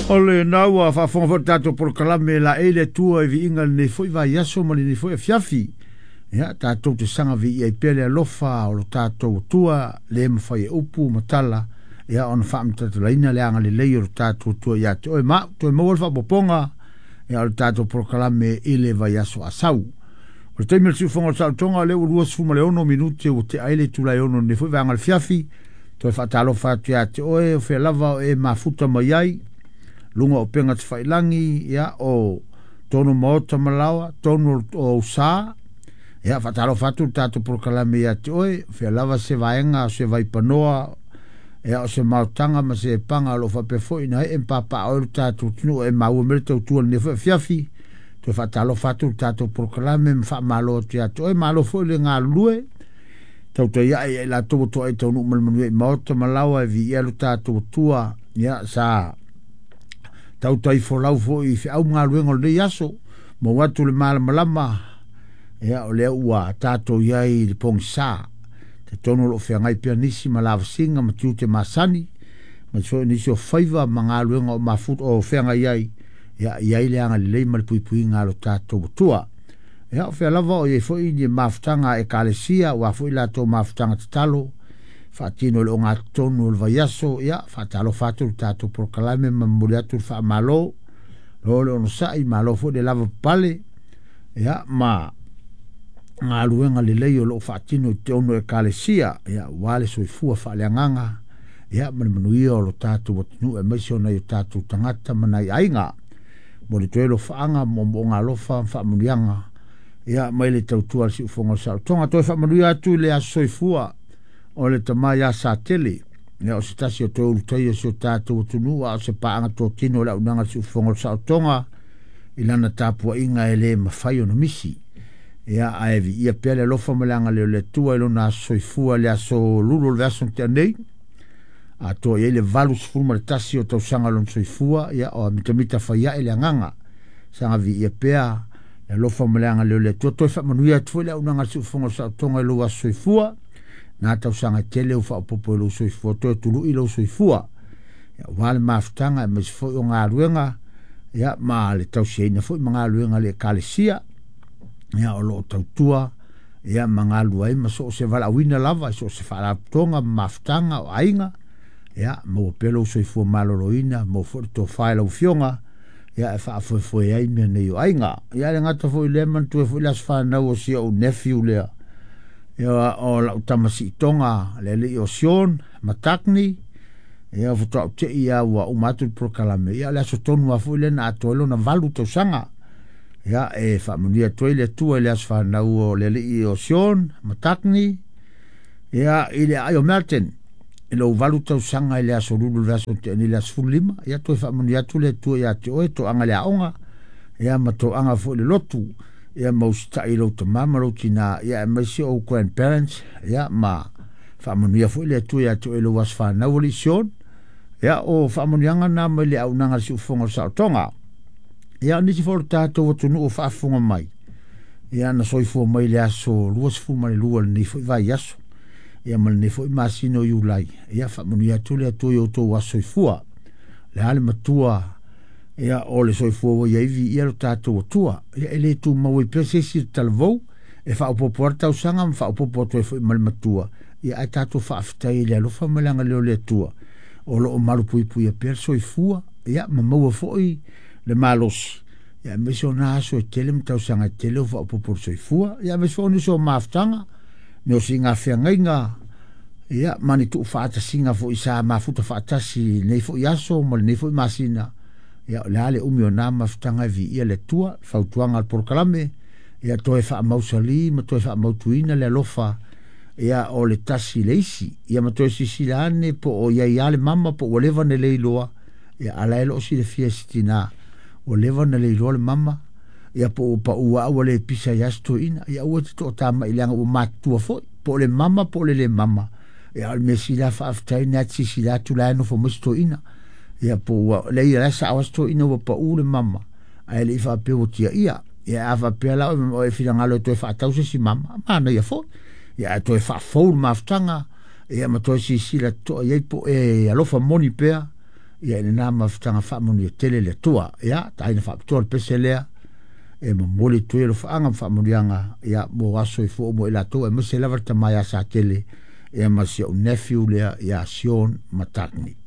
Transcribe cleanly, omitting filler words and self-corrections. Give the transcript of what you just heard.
O lena ua faafofoga foi le tatou polokalame laei le Atua i viiga i lenei foi vaiaso ma lenei foi afiafi. Ia, tatou te saga viia ai pea le alofa o lo tatou Atua, le mafai e upu ma tala, ia ona faamatalatalaina le agalelei o lo tatou Atua ia te oe ma au. Toe maua le faaopoopoga, ia o le tatou polokalame i le vaiaso a sau. O le taimi o le siufofoga o le saolotoga, o lea ua 26 minute ua tea ai le itula e 6 i lenei foi vaega o le afiafi. Toe faatalofa atu ia te oe, o fea lava o e mafuta mai ai, luga o upega tafailagi, ia o tonu maota ma laoa, tonu o usa. Ia faatalofa atu le tatou polokalame ia te oe, o fea lava se vaega, o se vaipanoa, ia o se maotaga ma se paga o lo o faapea foi na ee ma papaaao ai lo tatou atunuu e maua mai le tautua i lenei foi afiafi. Toe faatalofa atu le tatou polokalame ma faamalo atu ia te oe, malo foi le galulue. Tautai ae ia i latou ua toa e taunuu ma le manuia i maota ma laoa e viia lo tatou Atua. Ia sa tautai folau foi i feau ma galuega o lenei aso, maua atu le malamalama, ia o lea ua tatou i ai i le pogisa. Talitonu o lo o feagai pea nisi ma lavasiga ma tiute masani, ma foi nisi o faiva ma galuega o mafuta o feagai ai, ia i ai le agalelei ma le puipuiga a lo tatou Atua. Ia o fea lava o i ai foi ni mafutaga a ekalesia, aua foi latou mafutaga tatalo, faatino i le ogatotonu o le vaiaso, ia faatalofa atu le tatou polokalame ma momoli atu le faamalo, lo le onosai, malo foi le lava papale, ia ma galuega lelei o lo o faatino i te ono ekalesia, ia aua le soifua faaleagaga, ia ma le manuia o lo tatou atunuu aemaise o nai o tatou tagata ma nai aiga. Momoli atu ai alofaaga, moomooga alofa ma faamanuiaga, ia mai le tautua a le siufofoga o le saolotoga. Toe faamanuia atu i le aso soifua o le tama ia Satele, ia o se tasi o toe ulutaia o si o tatou atunuu, a o se paaga totino o le auaunaga a le siufofoga o le saolotoga i lana tapuaiga e le mafai ona misi. Ia ae viia pea le alofa ma le agalelei o le Atua i lona aso soifua i le aso Lulu o le vaiaso na tea nei, atoa i ai le 81 o tausaga o lona soifua, ia o mitamita fai ae le agaga. Saga viia pea le alofa ma le agalelei o le Atua. Toe faamanuia atu foi le auaunaga a le siufofoga o le saolotoga i lou aso soifua, na tausaga tele ua faaopoopo i lou soifua, toe tului lou soifua, ia aua le mafutaga aemaise foi o galuega, ia ma le tausiaina foi ma galuega a le ekalesia, ia o lo o tautua, ia ma galulue ai ma so o se valaauina lava, i so o se faalapotopotoga ma mafutaga o aiga, ia maua pea lou soifua maloloina, maua foi le tofa i lau afioga, ia e faafoefoe ai mea nei o aiga. Ia le gata foi lea, manatua foi le aso fanau o si ou nephew lea, ia o lau tama siitoga le alii o Sean Matakni, ia faatoa ou tei ia ua uma atu le polokalame, ia o le aso tonu lava foi lea na atoa ai lona 8 tausaga. Ia e faamanuia atu ai le Atua i le aso fanau o le alii o Sean Matakni, ia i le aai o Melton, i lou 8 tausaga i le aso Lulu le vaiaso na tea nei i le aso 15, ia toe faamanuia atu le Atua ia te oe, toaga i le aoga, ia ma toaga foi i le lotu, ia ma usitai i lou tama ma lou tina, ia aemaise ou grandparents, ia ma faamanuia foi le Atua ia te oe i lou aso fanau alii Sean. Ia o faamanuiaga na mai le auaunaga a le siufofoga o le saolotoga. Ia o nisi foi o le tatou atunuu o faafofoga mai, ia na soifua mai le aso 22 lenei foi vaiaso, ia ma lenei foi masina o Iulai, ia faamanuia atu le Atua i outou aso soifua. Le a le matua, ia o le soifua ua i ai viia lo tatou Atua. Ia e le tumau ai pea se isi le talavou, e faaopoopo lava le tausaga ma faaopoopo atu ai foi ma le matua, ia ae tatou faafetai i le alofa ma le agalelei o le Atua, o lo o malupuipuia pea le soifua, ia ma maua foi le malosi, ia aemaise o na aso e tele ma tausaga e tele o faaopoopo le soifua, ia aemaise foi o nisi o mafutaga, ni o siiga feagaiga, ia ma ni tuufaatasiga foi sa mafuta faatasi i lenei foi aso ma lenei foi masina, ia o le a le umi o na mafutaga e viia le Atua. Fautuaga a le polokalame, ia toe faamausali ma toe faamautuina le alofa, ia o le tasi i le isi, ia ma toe silasila ane po o i ai lava le mama po ua leva ona le iloa, ia a la e lo o silafia e si tina ua leva ona le iloa le mama, ia po ua pau lava ua le pisa ai lava se toeaina, ia aua e te toatamai leaga ua matutua foi, po o le mama po o le le mama, ia o le mea sili lava faafetai na te silasila atu la e nofo mai se toeaina, ia po ua leai la e sao lava se toeaina ua pau le mama, ae le i faapea ua tiaia. Ia a faapea la o e finagalo e toe faatau se isi mama, manaia foi, ia ae toe faafou le mafutaga, ia ma toe silasila totoa i ai po e alofa moni pea, Ia i lena mafutaga faamanuia tele le Atua. Ia taina faapitoa le pese lea e momoli atu ai alofaaga ma faamanuiaga ia mo aso e fua uma i latou, aemaise lava le tama ia Satele ia ma si ou nephew lea ia Sean McCartney.